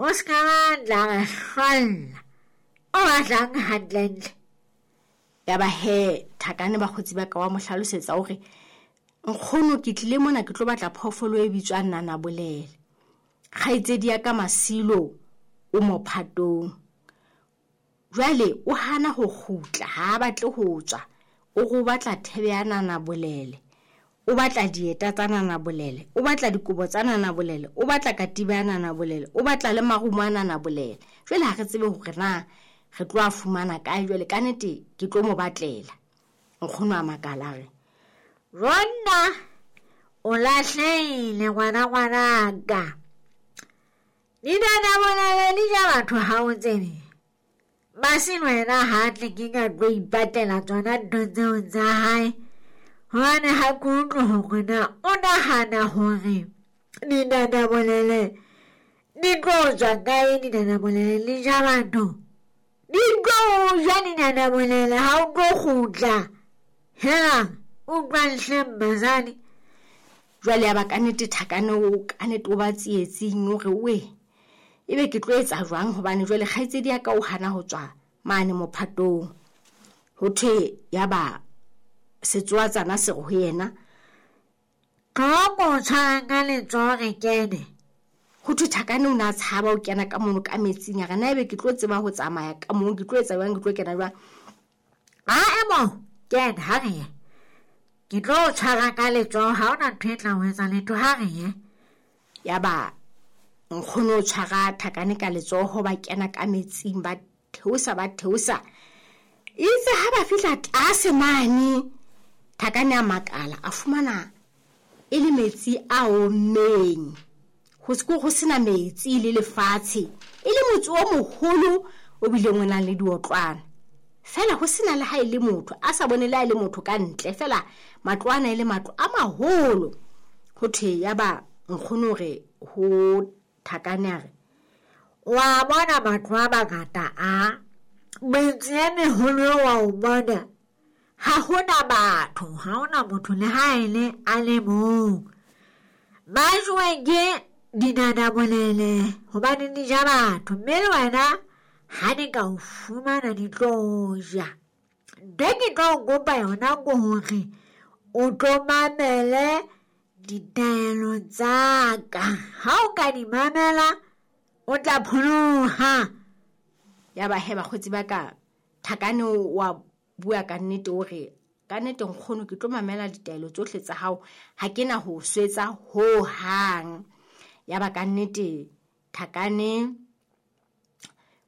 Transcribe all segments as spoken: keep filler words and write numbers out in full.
O se ka batla re hlolla. O batlang hantlentle? Ya ba he Thakane bakgotsi ba ka wa mo hlalosetsa hore nkgono ke tlile mona ke tlo batla phoofolo e bitswang nanabolele. Kgaitsedi ya ka Masilo o mophatong. Jwale o hana ho kgutla, ha a batle ho tswa. O re o batla thebe ya nanabolele, o batla dieta tsa nanabolele, o batla dikobo tsa nanabolele, o batla katiba ya nanabolele, o batla le marumo a nanabolele. Jwale ha re tsebe hore na re tlo a fumana kae. Jwale ka nnete ke tlo mo batlela. Nkgono a makala a re, Ronna o lahlehile ngwana ngwanaka. Dinanabolele di ja batho ha o tsebe. Masilo yena ha tle ke ka tlo ipatela tsona ntho tseo tsa hae. Hobane ha ke utlwe hore na o nahana hore dinanabolele di tlo tswa kae. Dinanabolele di ja batho. Di tlo ja dinanabolele ha o tlo kgutla. Hela, utlwang hle mmazane. Jwale ya ba ka nnete Thakane o ka nnete o ba tsietsing hore we ebe ke tlo etsa jwang, hobane jwale kgaitsedi ya ka o hana ho tswa mane mophatong. Ho thwe ya ba setsoatsana se re ho yena, Tlo ko tshwarang ka letsoho re kene. Ho thwe Thakane o ne a tshaba ho kena ka mono ka metsing. A re na ebe ke tlo tseba ho tsamaya ka moo, ke tlo etsa jwang, ke tlo kena jwang? A emo, kena ha re ye. Ke tlo o tshwara ka letsoho, ha hona ntho e tla o etsa letho, ha re ye. Ya ba nkgono o tshwara Thakane ka letsoho, ba kena ka metsing, ba theosa, ba theosa. Itse ha ba fihla tlase mane, Thakane a makala, a fumana e le metsi a ommeng. Ho se ho sena metsi le lefatshe, e le motse o moholo o bileng o nang le diotlwana. Feela ho sena le ha e le motho, a sa bone le ha e le motho ka ntle, feela matlo ana e le matlo a maholo. Ho thwe ya ba nkgono hore ho Thakane a re, Wa bona matlo a mangata a metse e meholo wa o bona, ha hona batho, ha hona motho le ha e le a le mong. Ba jowe ke dinanabolele hobane di ja batho, mme le wena ha di ka o fumana di tlo ja. Ntho e ke tlo o kopa yona ke hore o tlo mamele ditaelo tsa ka. Ha o ka di mamela, o tla pholoha. Ya ba he bakgotsi ba ka, Thakane wa bua ka nnete o re, ka nnete nkgono ke tlo mamela ditaelo tsohle tsa hao, ha ke na ho swetsa ho hang. Ya ba ka nnete Thakane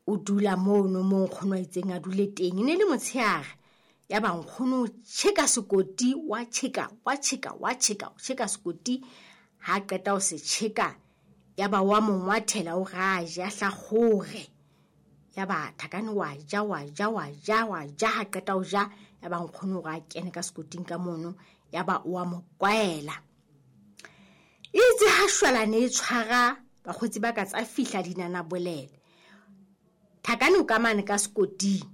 o dula mono moo nkgono a itseng a dule teng. E ne le motshehare. Ya ba nkgono o tjheka sekoti, wa tjheka, wa tjheka, wa tjheka, o tjheka sekoti. Ha qeta ho se tjheka, ya ba wa mo ngwathela o ra ja hlakgore. Ya ba Thakane wa ja, wa ja, wa ja, wa ja, ha qeta ho ja, ya ba nkgono o re a kene ka sekoting ka mono, ya ba o a mo kwaela. Itse ha shwalane e tshwara, bakgotsi ba ka tsa fihla dinanabolele. Thakane o ka mane ka sekoting.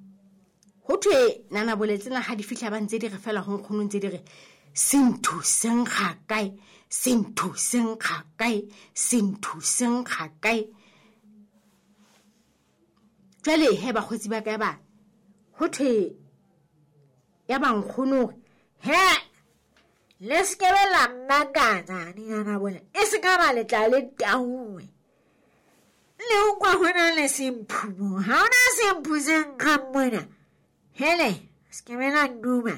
Ho thwe nanabolele tsena ha di fihla ba ntse di re feela ho nkgono ntse di re, senthu se nkga kae, senthu se nkga kae, senthu se nkga kae. Jwale he bakgotsi ba ka ba, ho thwe ya ba nkgono hore, He, le se ke be la mmakatsa dinanabolele, e se ka ba le tla le tauwe. Le utlwa ho na le semphu mo, ha hona semphu se nkgang mona. Hele, se ke be la nduma.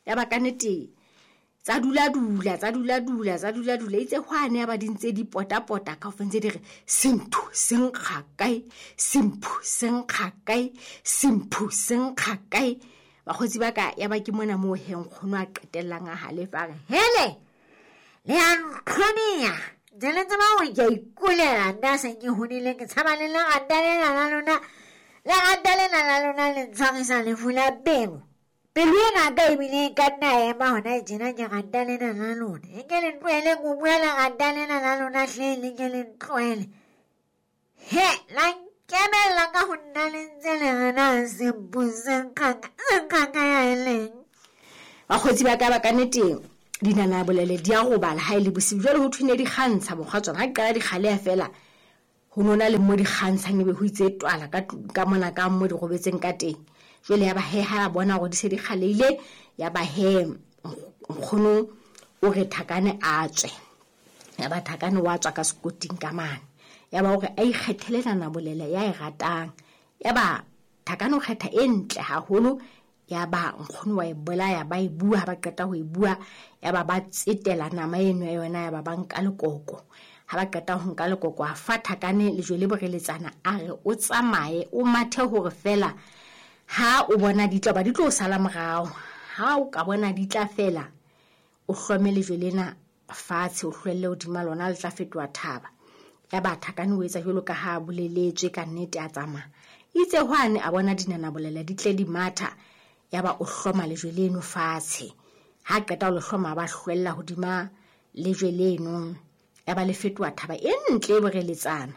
Ya ba ka nnete tsa dula dula, tsa dula dula, tsa dula dula. Itse hwane ya ba di ntse di pota-pota kaofela ntse di re, senthu se nkga kae, semphu se nkga kae, semphu se nkga kae. Bakgotsi ba ka, ya ba ke mona moo he nkgono a qetellang a halefa a re, Hele, le a ntlhonia. Ntse le tseba hore ke a ikulela nna se ke hodile, ke tshaba le lerata lena la lona. Lerata lena la lona le ntshwarisa lefu la pelo. Pelo ena ka ebile e ka nna ya ema hona tjena ke rata lena la lona. E ke le ntlohele ko bua lerata lena la lona hle, le ke le ntlohele. He, la nkemella ka ho nna le ntse le re na sempu se nkgang, se nkgang ka ya e leng. Bakgotsi ba ka ba ka nnete dinanabolele di a robala ha e le bosiu. Jwale ho thwe ne di kgantsha mokgwa tsona. Ha di qala di kgaleha feela, ho Ho nona le mo di kgantshang ebe ho itse twala ka ka mona ka mo di robetseng ka teng. Jwale ya ba he ha bona hore di se di kgaleile, ya ba he nkgono o re Thakane a tswe. Ya ba Thakane wa tswa ka sekoting ka mane. Ya ba hore a ikgethele nanabolele ya e ratang. Ya ba Thakane o kgetha e ntle haholo. Ya ba nkgono wa e bolaya, ba e bua, ha ba qeta ho e bua, ya ba ba tsetela nama eno ya yona, ya ba ba nka lekoko. Ha ba qeta ho nka lekoko, a fa Thakane lejwe le boreletsana, a re o tsamaye o mathe hore fela ha o bona di tla ba di tlo sala morao. Ha o ka bona di tla fela, o hlome lejwe lena fatshe, o hlwelle hodima lona, le tla fetoha thaba. Ya ba Thakane o etsa jwalo ka ha boleletswe ka nnete, a tsamaya. Itse hwane a bona dinanabolele di tle di matha, ya ba o hloma lejwe leno fatshe. Ha qeta ho le hloma, ba hlwella hodima lejwe leno, ya ba le fetoha thaba e ntle e boreletsana.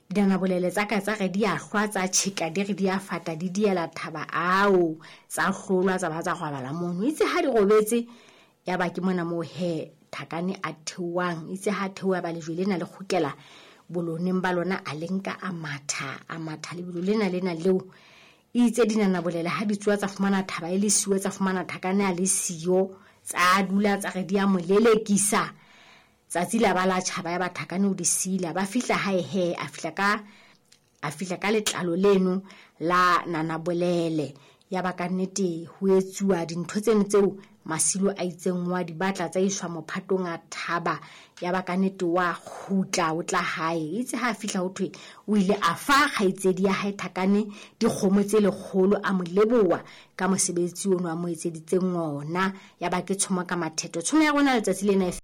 Dinanabolele tsa ka tsa re di a hlwa, tsa tjheka, di re di a fata, di diela thaba ao, tsa hlolwa, tsa ba tsa robala mono. Itse ha di robetse, ya ba ke mona moo he Thakane a theohang. Itse ha theoha, ba lejwe lena le kgutlela boloneng ba lona, a le nka a matha, a matha lebelo lena lena leo. Itse dinanabolele ha di tsoha tsa fumana thaba e le siyo, tsa fumana Thakane a le siyo, tsa dula tsa re di a mo lelekisa. Tsatsi la ba la tjhaba, ya ba Thakane o di sila. Ba fihla hae he, a fihla ka, a fihla ka letlalo leno la nanabolele. Ya ba ka nnete ho etsuwa dintho tseno tseo Masilo a itseng wa di batla, tsa iswa mophatong a thaba. Ya ba ka nnete wa kgutla o tla hae. Itse ha fihla ho thwe o ile a fa kgaitsedi ya hae Thakane dikgomo tse lekgolo, a mo leboha ka mosebetsi ono a mo etseditseng ona. Ya ba ke tshomo ka mathetho. Tshomo ya rona letsatsi lena e